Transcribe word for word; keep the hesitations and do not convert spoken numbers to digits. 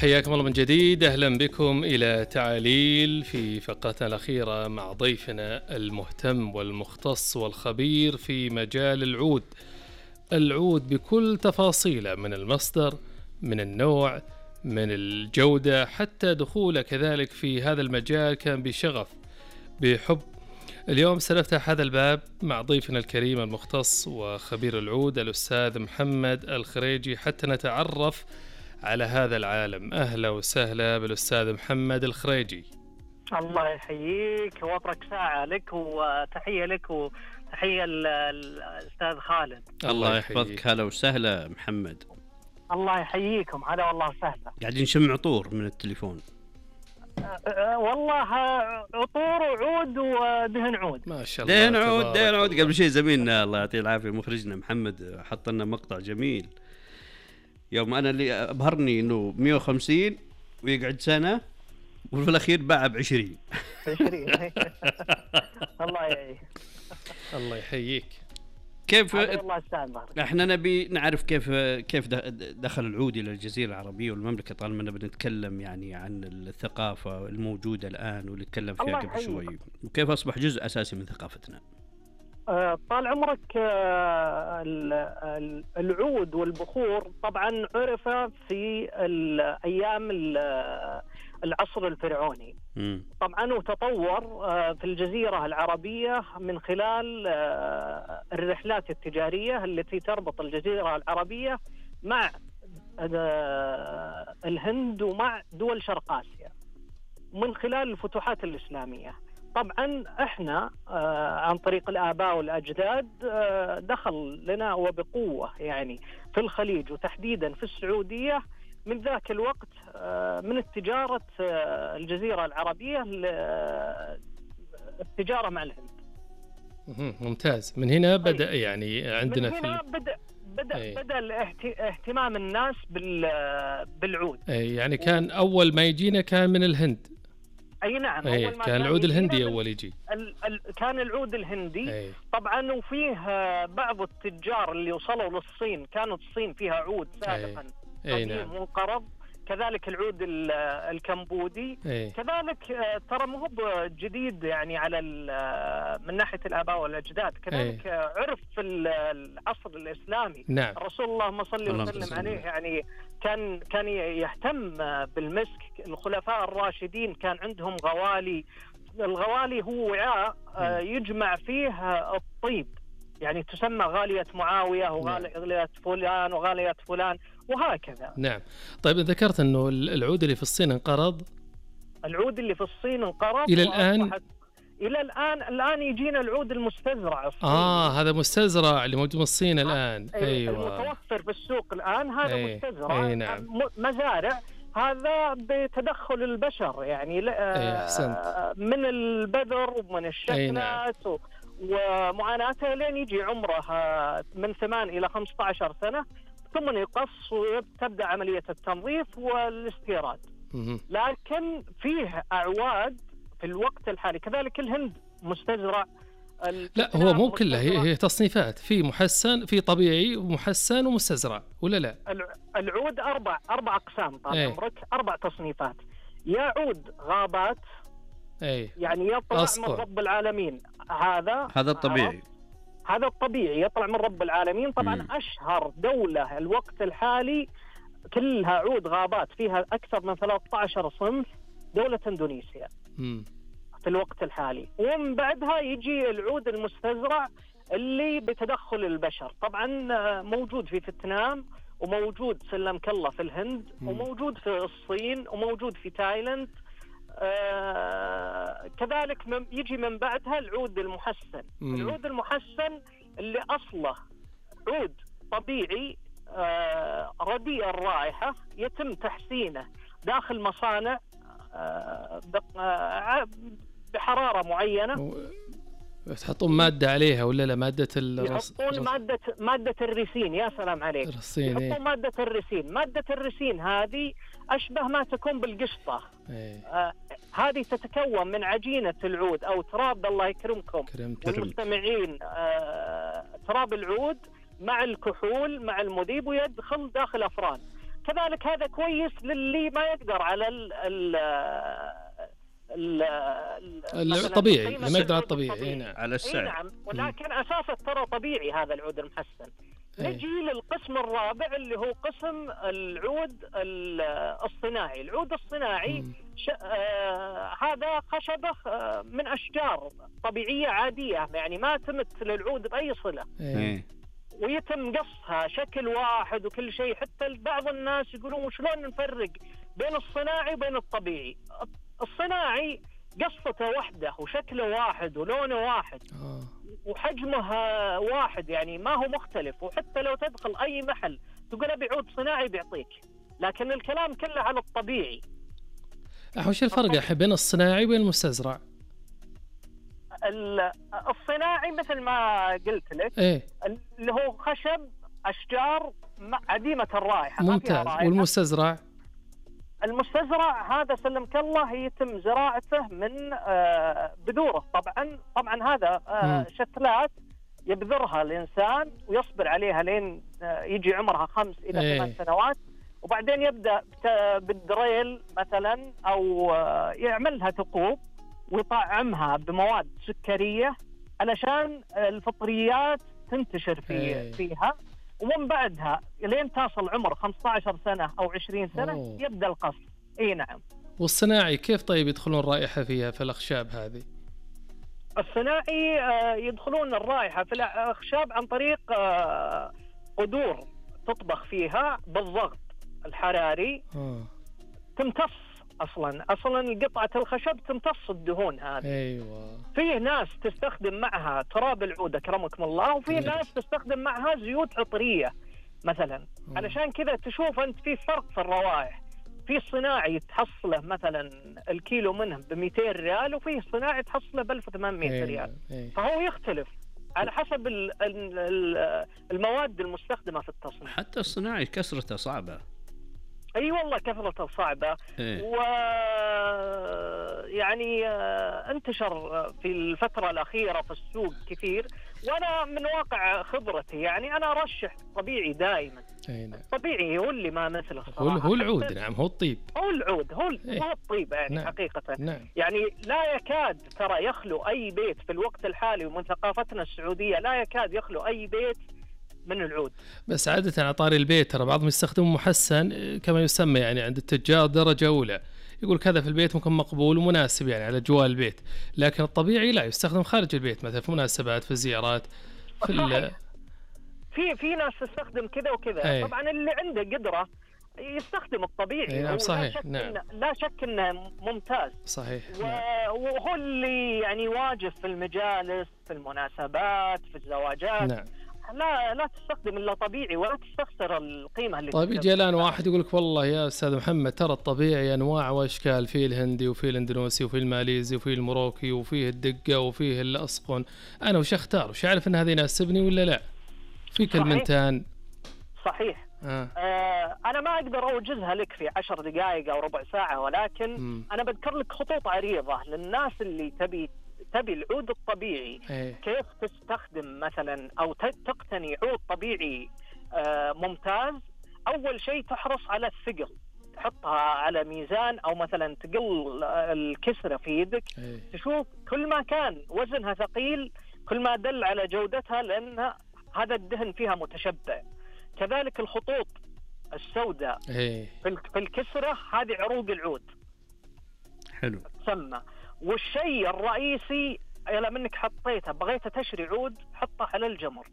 حياكم الله من جديد، أهلا بكم إلى تعاليل في فقرتنا الأخيرة مع ضيفنا المهتم والمختص والخبير في مجال العود. العود بكل تفاصيله، من المصدر، من النوع، من الجودة، حتى دخوله كذلك في هذا المجال كان بشغف بحب. اليوم سنفتح هذا الباب مع ضيفنا الكريم المختص وخبير العود الأستاذ محمد الخريجي حتى نتعرف على هذا العالم. أهلا وسهلا بالأستاذ محمد الخريجي. الله يحييك، وفرك ساعة لك وتحية لك وتحية الأستاذ خالد. الله يحفظك. هلا وسهلا محمد. الله يحييكم. هلا والله سهلا. قاعدين نشم عطور من التليفون. أه والله عطور وعود ودهن عود. ما شاء الله. دهن عود دهن عود. قبل شيء زميلنا الله يعطيه العافية مخرجنا محمد حط لنا مقطع جميل يوم أنا اللي أبهرني إنه مية وخمسين ويقعد سنة وفي الأخير باع بعشرين. عشرين. الله يحييك. الله يحييك. كيف احنا نبي نعرف كيف كيف دخل العود إلى الجزيرة العربية والمملكة، طالما أننا بنتكلم يعني عن الثقافة الموجودة الآن واللي تكلم فيها قبل شوي، وكيف أصبح جزء أساسي من ثقافتنا. طال عمرك، العود والبخور طبعا عرف في الأيام العصر الفرعوني م. طبعا وتطور في الجزيرة العربية من خلال الرحلات التجارية التي تربط الجزيرة العربية مع الهند ومع دول شرق آسيا من خلال الفتوحات الإسلامية. طبعا احنا آه عن طريق الآباء والأجداد آه دخل لنا وبقوة يعني في الخليج وتحديدا في السعودية من ذاك الوقت آه من التجارة آه الجزيرة العربية التجارة مع الهند. ممتاز. من هنا بدأ يعني عندنا من هنا في بدأ بدأ أي. بدأ اهتمام الناس بالعود. أي يعني كان أول ما يجينا كان من الهند. اي نعم. أي أول ما كان العود الهندي اول يجي. ال ال كان العود الهندي. أي. طبعا وفيه بعض التجار اللي وصلوا للصين كانت الصين فيها عود سابقا قديم نعم. منقرض. كذلك العود الكمبودي. أي. كذلك ترى مو جديد يعني على من ناحيه الاباء والاجداد. كذلك أي. عرف في العصر الاسلامي. نعم. رسول الله صلى الله عليه وسلم عليه يعني كان كان يهتم بالمسك. الخلفاء الراشدين كان عندهم غوالي. الغوالي هو وعاء يجمع فيه الطيب، يعني تسمى غالية معاوية وغالية فلان وغالية فلان وهكذا. نعم. طيب ذكرت أنه العود اللي في الصين انقرض. العود اللي في الصين انقرض إلى الآن. إلى الآن الآن يجينا العود المستزرع الصيني. آه هذا مستزرع اللي موجود في الصين الآن. أيوة. المتوفر في السوق الآن هذا أي. مستزرع. أي نعم. مزارع. هذا بتدخل البشر يعني من البذر ومن الشتلات نعم. ومعاناته لين يجي عمره من ثمان إلى خمسة عشر سنة ثم يقص وتبدأ عملية التنظيف والاستيراد. لكن فيه أعواد في الوقت الحالي. كذلك الهند مستزرع. لا هو مو كله، هي, هي تصنيفات، في محسن في طبيعي ومحسن ومستزرع ولا لا؟ العود أربع أربع أقسام طال عمرك. أربع تصنيفات. يا عود غابات أي. يعني يطلع أصفر. من رب العالمين. هذا هذا الطبيعي. هذا الطبيعي يطلع من رب العالمين. طبعا م. أشهر دولة الوقت الحالي كلها عود غابات فيها أكثر من ثلاثة عشر صنف دولة إندونيسيا م. في الوقت الحالي. ومن بعدها يجي العود المستزرع اللي بتدخل البشر. طبعا موجود في فيتنام وموجود سلم كله في الهند م. وموجود في الصين وموجود في تايلاند. آه كذلك يجي من بعدها العود المحسن. م. العود المحسن اللي أصله عود طبيعي آه رديء الرائحة يتم تحسينه داخل مصانع آه بحرارة معينة. و... تحطون مادة عليها ولا لا؟ مادة الرص... يحطون مادة مادة الريسين. يا سلام عليك. الرصين. يحطون إيه؟ مادة الريسين. مادة الريسين هذه أشبه ما تكون بالقشطة. إيه؟ آه هذه تتكون من عجينة العود أو تراب. الله يكرمكم والمستمعين. آه تراب العود مع الكحول مع المذيب ويدخل داخل أفران. كذلك هذا كويس للي ما يقدر على ال ال الطبيعي، اللي ما يقدر على الطبيعي. نعم. على السعر. نعم. ولكن أساسا ترى طبيعي هذا العود المحسن. أي. نجي للقسم الرابع اللي هو قسم العود الصناعي. العود الصناعي ش... آه... هذا خشبة آه... من أشجار طبيعية عادية، يعني ما تمت للعود بأي صلة. أي. ويتم قصها شكل واحد وكل شيء. حتى بعض الناس يقولون شلون نفرق بين الصناعي وبين الطبيعي. الصناعي قصته واحدة وشكله واحد ولونه واحد آه. وحجمه واحد، يعني ما هو مختلف. وحتى لو تدخل أي محل تقول أبي عود صناعي بيعطيك، لكن الكلام كله على الطبيعي. وش الفرق يا بين الصناعي وبين المستزرع؟ الصناعي مثل ما قلت لك إيه؟ اللي هو خشب أشجار عديمة الرائحة. ممتاز. والمستزرع؟ المستزرع هذا سلمك الله يتم زراعته من بذوره. طبعا طبعا هذا شتلات يبذرها الإنسان ويصبر عليها لين يجي عمرها خمس إلى ايه. ثمان سنوات، وبعدين يبدأ بالدريل مثلا أو يعملها ثقوب ويطعمها بمواد سكرية علشان الفطريات تنتشر في ايه. فيها. ومن بعدها لين تصل عمر خمسة عشر سنة أو عشرين سنة أوه. يبدأ القص. إيه نعم. والصناعي كيف طيب يدخلون رائحة فيها في الأخشاب هذه؟ الصناعي يدخلون الرائحة في الأخشاب عن طريق قدور تطبخ فيها بالضغط الحراري. آه. تمتص أصلا أصلا قطعة الخشب تمتص الدهون هذه. أيوة. فيه ناس تستخدم معها تراب العود أكرمكم الله، وفيه ناس تستخدم معها زيوت عطرية مثلا. آه. علشان كذا تشوف أنت في فرق في الروائح. في الصناعي تحصله مثلا الكيلو منه بمئتين ريال، وفيه الصناعي تحصله بألف وثمانمائة أيوة. ريال. أيوة. فهو يختلف على حسب المواد المستخدمة في التصنيع. حتى الصناعي كسرته صعبة. اي أيوة والله كثرته صعبه. إيه؟ و يعني انتشر في الفتره الاخيره في السوق كثير. وانا من واقع خبرتي يعني انا ارشح طبيعي دائما. نعم. طبيعي هو اللي ما مثله هو هو العود. نعم هو الطيب. هو العود هو إيه؟ هو الطيب يعني. نعم. حقيقه. نعم. يعني لا يكاد ترى يخلو اي بيت في الوقت الحالي، ومن ثقافتنا السعوديه لا يكاد يخلو اي بيت من العود. بس عادة على طاري البيت ترى بعضهم يستخدمون محسن كما يسمى يعني عند التجار درجة أولى، يقول كذا في البيت ممكن مقبول ومناسب يعني على جوال البيت، لكن الطبيعي لا يستخدم خارج البيت مثلا في مناسبات في زيارات في ال... في في ناس تستخدم كذا وكذا. أي. طبعا اللي عنده قدرة يستخدم الطبيعي. نعم صحيح. لا شك نعم. إن لا شك انه ممتاز. صحيح. و... نعم. وهو اللي يعني واجب في المجالس في المناسبات في الزواجات. نعم. لا لا تستخدم الا طبيعي ولا تستخسر القيمه اللي. طيب يجي الان واحد يقول لك والله يا استاذ محمد ترى الطبيعي انواع واشكال، فيه الهندي وفيه الاندونيسي وفيه الماليزي وفيه الموروكي وفيه الدقه وفيه الاسقن، انا وش اختار؟ وش اعرف ان هذا يناسبني ولا لا؟ في كلمتان. صحيح. آه. آه انا ما اقدر اوجزها لك في عشر دقائق او ربع ساعه، ولكن م. انا بذكر لك خطوط عريضه للناس اللي تبي تبي العود الطبيعي. أيه. كيف تستخدم مثلا أو تقتني عود طبيعي آه ممتاز. أول شيء تحرص على الثقل، تحطها على ميزان أو مثلا تقل الكسرة في يدك. أيه. تشوف كل ما كان وزنها ثقيل كل ما دل على جودتها، لأن هذا الدهن فيها متشبع. كذلك الخطوط السوداء أيه. في الكسرة هذه عروق العود. حلو. تسمى. والشيء الرئيسي إلى منك حطيته بغيت تشري عود حطه على الجمر.